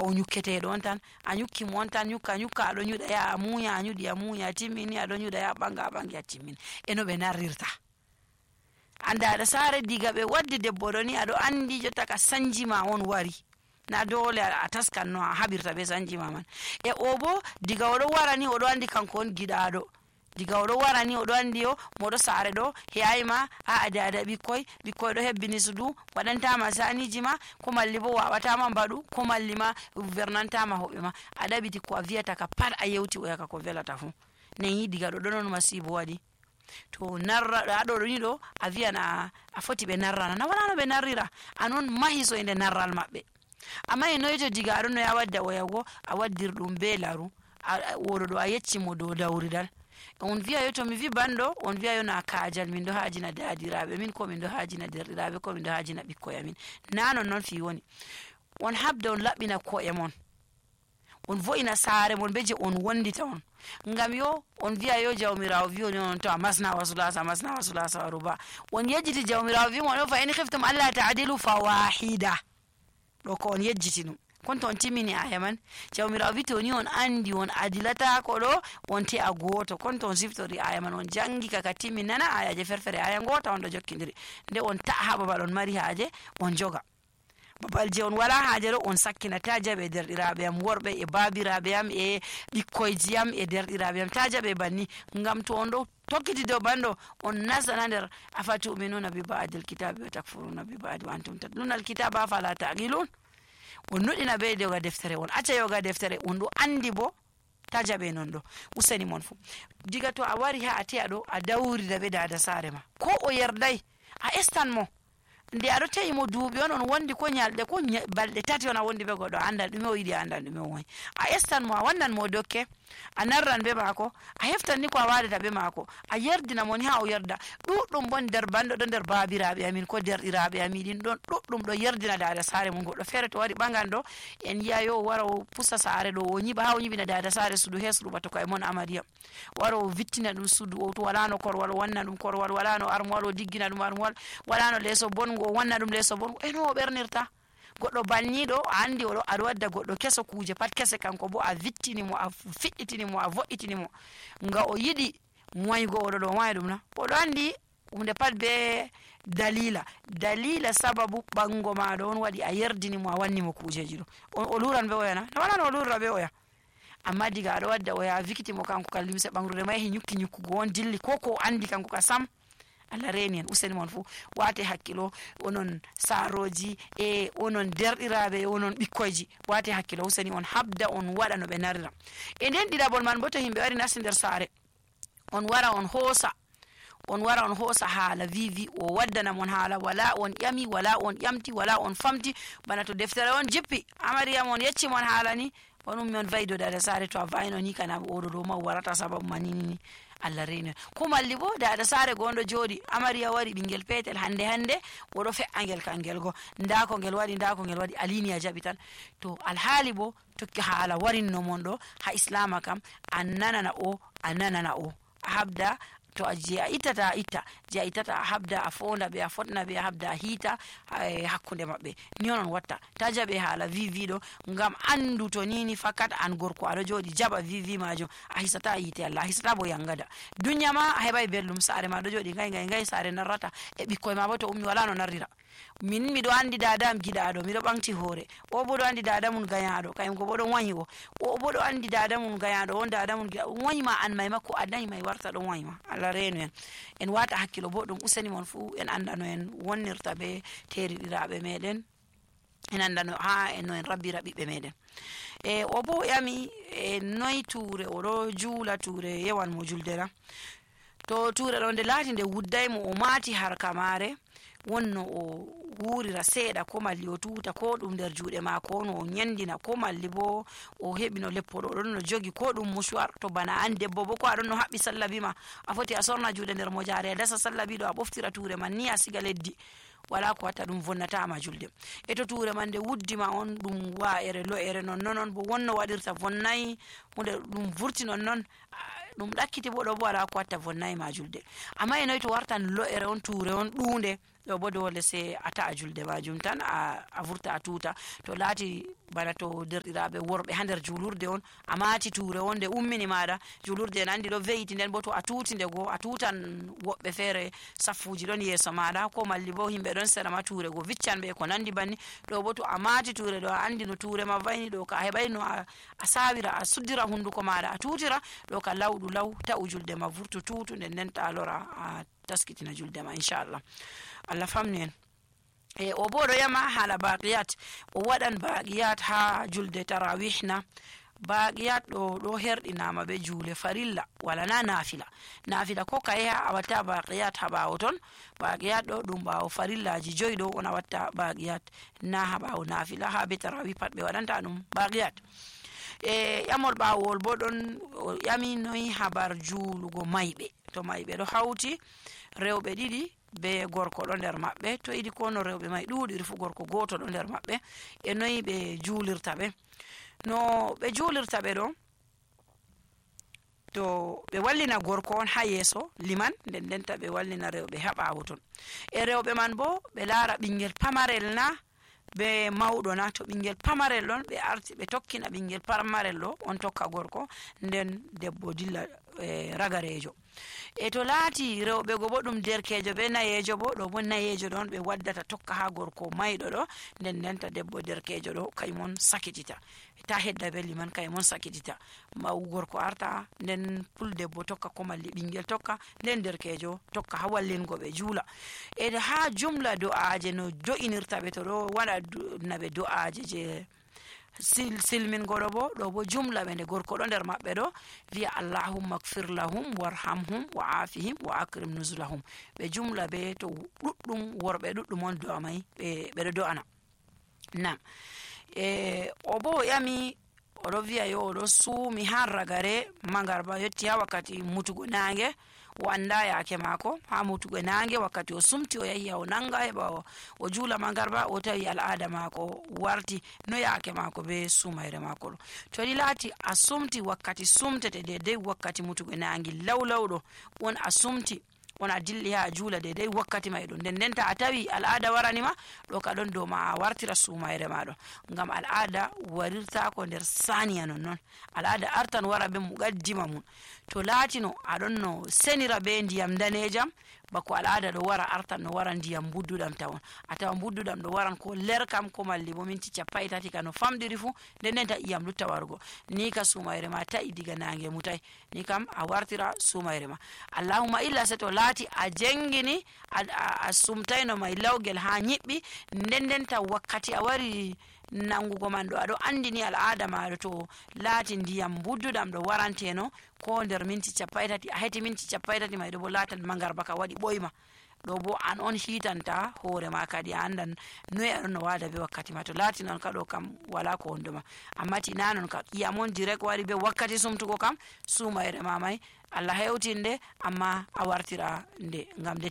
o nyukketeɗo on tan a nyukki mo on tan nyukka aɗo nyuɗa ya a munya a nyuɗi a munya timmini aɗo nyuɗa ya ɓanga a ɓangi a timmini eno ɓe narrirta. Andaɗa sare diga ɓe waddi debbo ɗo ni aɗo andi jotta ka sanji ma on wari na dole a taskan no a haɓirta be sanji ma man. E o bo diga oɗo wara ni oɗo andi kanko on giɗaɗo, diga oɗo wara ni oɗo andi yo moɗo sare ɗo heyayima a dada ɓikkoy ɗo hebbini sudu waɗantama saniji ma ko malli bo wawatama mbaɗu ko malli ma vernantama hoɓɓe ma a ɗaɓiti ko a viyata ka pat a yewti o yaka ko velata fu nen yi diga ɗo ɗonon masibo waɗi. To narra ɗo ni ɗo a viyan a foti ɓe narrana na wala no ɓe narrira anon mahi so inde narral maɓɓe. Amma e noyto diga aɗo no ya wadda oyago a waddir ɗum be laru woɗo ɗo a yecci mo dow dawridal on viya yo to mi vi banɗo on viya yo na kajal min ɗo hajina dadiraɓe min ko min ɗo hajina derɗiraɓe ko min ɗo hajina ɓikkoy amin na non fi woni on habda on laɓɓina ko'e mon on vo'ina sare mon be je on wondita on ngam yo on viya yo jawmirawo wi on to a masna wasulasa waru ba on yejjiti jawmirawo wi mon fa in khiftum alla ta'dilu fawahida ɗo ko on yejjiti ɗum kon to on timmini aya man jawmirawo wi to ni on andi on adilata ko ɗo on te a goto kon to on siftori aya man on jangi kaka timmi nana ayaje ferfere aya ngota on ɗo jokkidiri nde on ta'a babal on mari haje on joga babal je on wala haje ɗo on sakkina ta jaɓe derɗiraɓe am worɓe e babiraɓe am e ɓikkoyji am e derɗiraɓe am ta jaɓe banni ngam to on ɗo tokkiti dow banɗo on nasana nder afatuminuna bi ba'dil kitabi wa takfuruna bi ba'di wa antum tatluna alkitaba afala taqilun on nuɗina be yoga deftere on acca yoga deftere on ɗo andi bo ta jaɓe non ɗo useni mon fu diga to a wari ha a te'a ɗo a dawrida ɓe dada sare ma ko o yerday a estan mo nde aɗo tawi mo duuɓi on wondi ko nyalɗe ko balɗe tati on a wondi be goɗɗo andal ɗume o yiɗi andal ɗume o woyi a estan mo a wannan mo dokke a narran be maako a heftan ni ko a wadata be maako a yerdina mo ni ha o yerda ɗuɗɗum bon nder banɗo ɗo nder babiraɓe amin ko derɗiraɓe amin ɗin ɗon ɗuɗɗum ɗo yerdina dada sare mum goɗɗo feere to wari ɓagan ɗo en yiya yo o wara o pusa sare ɗo o nyiɓa ha o nyiɓina dada sare sudu hesɗu bata ko e mon amariyam wara o vittina ɗum sudu o to walano korwal o wanna ɗum korwal walano armoire o diggina ɗum armoire walano leeso bongo o wanna ɗum leeso bongo eno o ɓernirta goɗɗo banniɗo a andi oɗo aɗa wadda goɗɗo keso kuje pat kese kanko bo a vittini mo a fiɗɗitini mo a vo'itini mo nga o yiɗi moygo oɗo ɗo wayi ɗum na oɗo andi hunde pat be dalila sababu ɓango maɗo on waɗi a yerdini mo a wanni mo kujeji ɗo o luran be oya na wala no o lurra be oya amma diga aɗa wadda oya a vikiti mo kanko ka limse ɓangrude ma yahi nyukkugo on dilli ko andi kanko ka sam Allah reni en useni mon fu wate hakkilo onon saroji e onon derɗiraɓe onon ɓikkoyji wate hakkilo useni on habda on waɗa no ɓe narira e nden ɗiɗaɓol man bo to yimɓe wari nasti nder sare on wara on hoosa haala vivi o waddana mon haala wala on ƴami wala on ƴamti wala on famti bana to deftere on jippi amariyam on yecci mon haala ni onum mi on vayido dada sare to a vayino ni kana oɗo ɗo ma warata sababu manini Allah reni ko malli bo dada sare gonɗo jooɗi amariya wari ɓingel petel hande oɗo fe'a ngel kangel go nda ko ngel waɗi alini a jaɓi tan to alhaali bo tokki haala warinno mon ɗo ha islama kam a nanana o a habda to je a ittata a itta je a ittata a habda a fonda ɓe a fotna ɓe a habda a hiita hakkunde maɓɓe ni onon watta ta jaɓe haala viviɗo ngam andu to nini fakat an gorko aɗo jooɗi jaɓa vivi majum a hisata yiite Allah a hisata bo yangada dunya ma a heɓai belɗum sare ma ɗo jooɗi ngay sare narrata e ɓikkoy ma bo to ummi wala no narrira min miɗo andi dadam giɗaɗo miɗo ɓamti hoore o bo ɗo andi dada mum gayaɗo kayum ko bo ɗon wayi o bo ɗo andi dada mum gayaɗo on dada mum giɗaɗo wayima an may makko a dañi may warta ɗon wayima Allah renu en wata hakkilo bo ɗum useni mon fu en andano en wonnirta be teriɗiraɓe meɗen en andano ha en no en rabbira ɓiɓɓe meɗen e o bo yami e noyi ture oɗo juula ture yewan mo juldera to ture ɗo nde laati nde wuddaymo o maati harka mare wonno o wurira seeɗa ko malli o tuta ko ɗum nder juuɗe maako no o nyandina ko malli bo o heɓi no leppoɗo ɗon no jogi ko ɗum musuwar to bana an debbo bo ko aɗon no haɓɓi sallabi ma a foti a sorna juuɗe nder mojare a dasa sallabi ɗo a ɓoftira ture man ni a siga leddi wala ko watta ɗum vonnatama julde e to ture man nde wuddima on ɗum wa'ere lo'ere non bo wonno waɗirta vonnayi hunde ɗum vurti non ɗum ɗakkiti bo ɗo bo wala ko watta vonnayi ma julde amma e noyi to wartan lo'ere on ture on ɗunde ɗo bo dole se a ta'a julde majum tan a vurta a tuta to laati bana to derɗiraɓe worɓe ha nder julurde on a maati tuure on nde ummini maɗa julurde en andi ɗo ve'iti, nden bo to a tuti nde go a tutan woɓɓe feere saffuji ɗon yeeso maɗa ko malli bo himɓe ɗon sera ma tuure go viccan ɓe ko nandi banni. ɗo bo to a maati tuure ɗo a andi no tuure ma vayni ɗo ka a heɓai no a sawira a suddira hunduko maɗa a tutira ɗo ka lawɗu law ta'u julde ma vurtu tutu nden ta lora a taskitina julde ma inchallah. Allah famni en. O bo ɗo yama hala baqiyat o waɗan baqiyat ha julde tarawih na. baqiyat ɗo herɗinama be juule farilla wala na nafila ko kaye ha a watta baqiyat ha ɓawo ton. baqiyat ɗo ɗum ɓawo farillaji 5 ɗo on a watta baqiyat na ha ɓawo nafila. ha be tarawih pat ɓe waɗanta ɗum baqiyat. ƴamol ɓawol bo ɗon ƴami noyi habar juulugo mayɓe. to mayɓe ɗo hawti rewɓe ɗiɗi be gorko ɗo nder maɓɓe, to yiɗi ko no rewɓe may ɗuɗiri fu gorko goto ɗo nder maɓɓe, e noyi ɓe juulirta ɓe. no ɓe juulirta ɓe ɗo, to ɓe wallina gorko on ha yeeso liman, nden ndenta ɓe wallina rewɓe ha ɓawo ton. e rewɓe man bo ɓe laara ɓingel pamarel na be mawɗo na. to ɓingel pamarel ɗon ɓe arti ɓe tokkina ɓingel pamarel ɗo on tokka gorko, nden debbo dilla ragarejo. e to laati rewɓe go bo ɗum derkejo be nayejo bo, ɗo bo nayejo ɗon ɓe waddata tokka ha gorko mayɗo ɗo, nden ndenta debbo derkejo ɗo kaymon sakitita ta hedda be liman, kaymon sakitita. maw gorko arta, nden puldebbo tokka ko malli ɓingel tokka, nden derkejo tokka ha wallingo ɓe juula. e ha jumla do'aje no do'inirta ɓe, to ɗo waɗa naɓe do'aje je silmingoɗo bo, ɗo bo jumla ɓe nde gorko ɗo nder maɓɓe ɗo wiya allahumma gfir lahum warhamhum wa afihim wa akrim nuzulahum. ɓe jumla be to ɗuɗɗum worɓe ɗuɗɗum on do'a may ɓeɗo do'ana. nam o bo o ƴami oɗo wiya yo oɗo suumi har ragare magarba yetti ha wakkati mutugo nange, o anda yake mako ha mutugo nange. wakkati o sumti o yahi o nanga heɓa o juula magarba, o tawi al'ada mako warti no yake mako be sumayre mako ɗo. to ɗi laati a sumti wakkati sumtete dedei wakkati mutugo nange lawlawɗo on a sumti on a dilli ha juula dedei wakkati may ɗo, nden ndenta a tawi al'ada waranima ɗo ka ɗon dow ma a wartira sumayre maɗo, ngam al'ada warirtako nder saniya nonnon. al'ada artan wara be muqaddima mum. to laatino aɗon no senira be ndiyam danejam, bako al'ada ɗo wara artan no wara ndiyam budduɗam tawon. a tawa budduɗam ɗo waran ko lerkam ko malli bo minti 30 ka no famɗiri fu, nden ndenta iyam lutta wargo ni ka sumayre ma ta'i diga nange mutai, ni kam a wartira sumayre ma. allahumma illa se to laati a jengini a sumtayno may lawgel ha nyiɓɓi, nden ndenta wakkati a wari nangugo man ɗo aɗo andini al'ada maɗo, to laati ndiyam budduɗam ɗo waranteno ko nder minti 30, a heti minti 30 may ɗo bo latan magarba ka waɗi ɓoyma, ɗo bo an on hitanta hoore ma kadi a andan noyi aɗon no wada be wakkati ma. to laati noon ka ɗo kam wala ko wondoma, amma tina non ka iyamon direct wari be wakkati sumtugo kam sumayre ma may Allah hewtinde, amma a wartira nde ngam